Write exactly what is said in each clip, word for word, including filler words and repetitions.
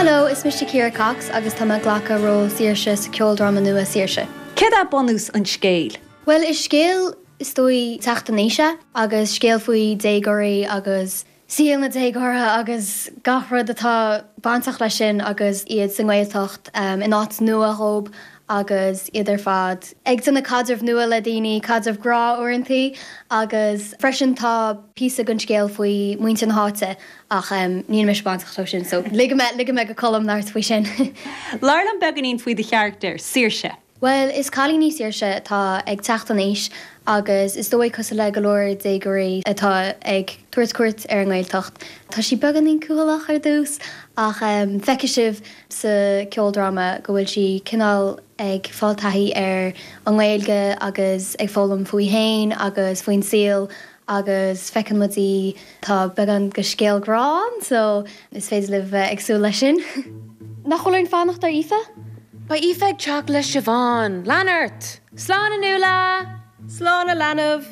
Hello, is mise Ciara Cox agus tá mé ag glacadh ról Saoirse sa ceoldráma nua Saoirse. Céard é bunús an scéil? Well is scéal is dóigh teacht in aois é agus scéal faoi déagóirí agus saol na déagóra agus gach rud atá bainteach leis sin agus iad sa nGaeltacht um, in áit nua dhóibh agus iad ar fad. Ag déanamh caidreamh nua le daoine caidreamh grá uaireanta agus freisin tá píosa den scéal faoi muintir na háite ach um, níl mise bainteach leis sin, so ligfidh mé ligfidh mé go Colm labhairt faoi sin. Labhair liom beagáinín faoi do charachtar, Saoirse. Well, is cailín í Saoirse atá ag teacht in aois agus is dóigh cosúil le go leor déagóirí atá ag tabhairt cuairt ar an nGaeltacht. Tá sí beagáinín cúthaileach ar dtús ach um, feicfidh sibh sa ceoldráma go bhfuil sí cineál ag fáil taithí ar an nGaeilge agus ag foghlaim faoi féin agus faoin saol agus feiceann muid í tá beagán de scéal grá ann, so is féidir libh bheith ag súil leis sin. Nach bhfuil aon fanacht ar Aoife? Beidh Aoife ag teacht le Siobhán, Lean ort! Slán a Nuala! Slán a leanbh!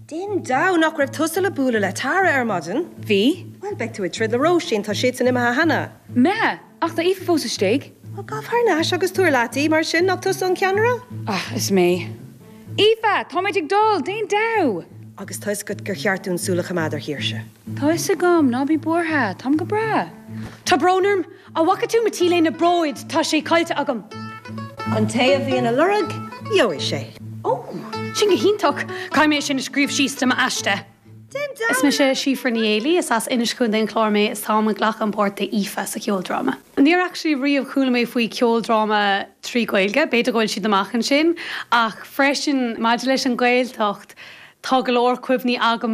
Din da nach raibh tusa le bualadh le Tara ar maidin? Bhí? Well beidh tú ag troid le Róisín tá siad san imithe cheana. Me, ach tá Aoife fós istigh? Well gabh thar n-ais agus tabhair leat í mar sin nach tusa an ceannaire? Ah, is mé. Aoife, Táimid ag dul, déan damh! Agus tá go gur cheart dúinn súil a choimeád ar Shaoirse. Tá fhios agam ná bí buartha, Táim go breá. Tá brón orm an bhfaca tú mo t-léine bróid tá sé caillte agam. An té a bhíonn á lorg, gheobhaidh sé. Ó, sin go hiontach, Caithfidh mé sin a scríobh síos do m'aiste. Is mise Síofra Ní Éalaí is as Inis Chontae an Chláir mé is táim ag glacadh an páirt Aoife sa cheoldráma. Níor actually riamh chuala mé faoi ceoldráma trí Ghaeilge, b'fhéidir go bhfuil siad amach ansin, ach freisin maidir leis an Ghaeltacht, Tá go leor cuimhní agam